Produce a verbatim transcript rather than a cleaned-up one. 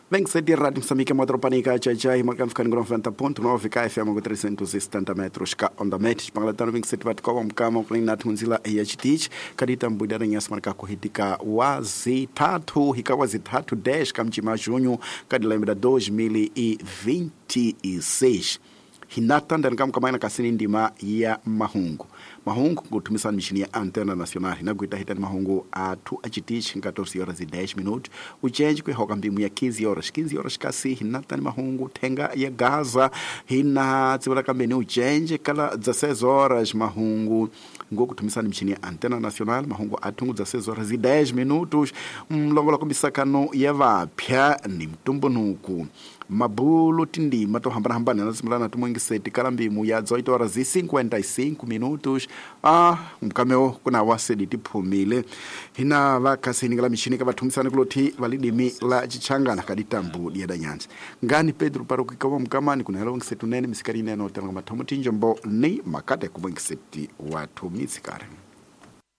Vem que Rádio Moçambique, Motropanica, Tchai, marcando ficando com noventa ponto nove, K F M com trezentos e setenta metros, K onda metros, Pangalatano, vinte e sete watt, Kowa, Mkama, Klinat, Munzila, e H T, Kadita, Mbuidara, Nhas, marca Kuhitika, Wazi, Tatu, Hikawazi, Tatu, dez, Kamchima, junho, Kadilembra, dois mil e vinte e seis. Hinata ndani kasini ndima ya mahungu mahungu kutumisa mishini ya antena nacional hinakuita hitani mahungu atu achitichi catorze horas e dez minutos uchenji kuihoka mbimu ya quinze horas quinze horas kasi hinatani mahungu tenga ya Gaza hina tsibula kambeni uchenji kala dezesseis horas mahungu ngokutumisa mishini ya antena nacional mahungu atungu dezesseis horas e dez minutos mlongola kumbisakano ya vapya ni mtumbunuku mabulu tindima to hambana hambana nasimulana tumwengiseti kala mbimu ya dezoito horas e cinquenta e cinco minutos ah mkameo kuna wasedi tiphumile hina vakhasini kala mishini kavathumisana kulothi validimi la chichangana kaditambu diada nyanza ngani Pedro parukikawa mkamani kunahela wengiseti unene misikari inene otelanga mathomo tinjombo ni makate kumwengiseti wathu mitsikari.